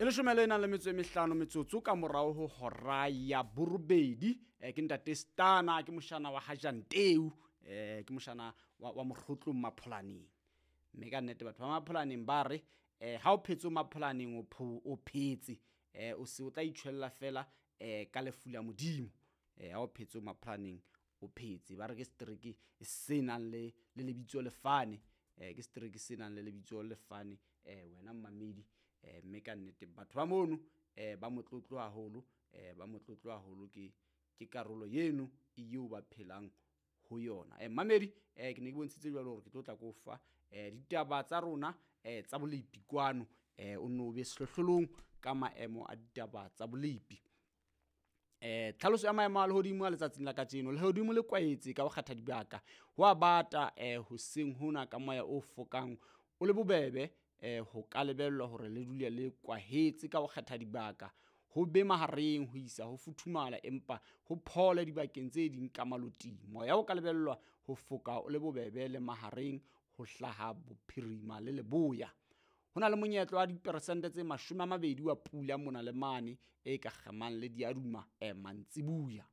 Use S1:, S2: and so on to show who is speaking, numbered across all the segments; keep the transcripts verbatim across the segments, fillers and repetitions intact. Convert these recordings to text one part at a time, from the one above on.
S1: Ke leshome le nang le metso e mehlano metsotso ka morao ho hora ya borobedi. Eh, ke ntate Stana, ke moshana wa Hajanteu, eh ke moshana wa, wa Mokgotlong Mapholaneng. Mme ka nnete batho ba Mapholaneng ba re eh ha o phetse Mapholaneng o pho- o phetse, eh o se o tla itjhwella fela eh ka lefu la Modimo. Eh ha o phetse Mapholaneng o phetse, ba re ke setereke se nang le le lebitso lefane, eh ke setereke se nang le lebitso lefane, eh wena mmamedi. Eh mme ka nnete batho ba mono eh ba motlotlo haholo, eh ba motlotlo haholo ke ke karolo eno eo ba phelang ho yona. Eh mmamedi, eh ke ne ke bontshitse jwalo hore ke tlo tla ko fa eh ditaba tsa rona eh tsa bolepi kwano, eh o nno be sehlohlolong ka maemo a ditaba tsa bolepi. Eh tlhaloso ya maemo a lehodimo a letsatsing la kajeno. Lehodimo le kwaetse ka ho kgetha dibaka, ho a bata eh hoseng hona ka moya o fokang o le bobebe, eh ho ka lebellwa hore le dule le kwahetse ka ho kgetha dibaka, ho be mahareng ho isa ho futhumala empa ho phole dibakeng tse ding ka maloting. Moya o ka lebellwa ho foka o le bobebe le mahareng ho hlaha bophirima le leboya. Ho na le monyetla wa diperesente tse mashome a mabedi wa pula mona le mane e ka kgemang le diaduma eh mantsibuya.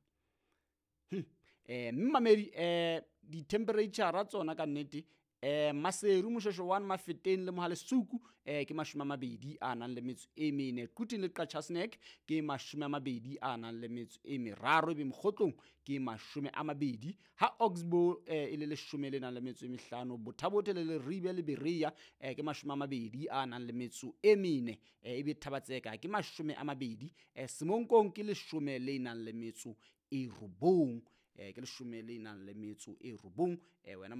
S1: Hm. Eh mme mamedi, eh di-temperature tsona ka nnete, eh Maseru, Moshoeshoe one, Mafeteng le Mohalesuku eh ke mashome a mabedi a nang le metso e mene. Quthing le Qacha's Nek ke mashome a mabedi a nang le metso e meraro, ebe Mokgotlong ke mashome a mabedi. Ha Oxbow eh e le leshome le nang le metso e mehlano, Botha-Bothe le Leribe le Berea eh ke mashome a mabedi a nang le metso e mene, eh ebe Thaba-Tseka ke mashome a mabedi, eh Semonkong ke leshome le nang le metso e robong, eh ke leshome le nang le metso e robong, eh wena.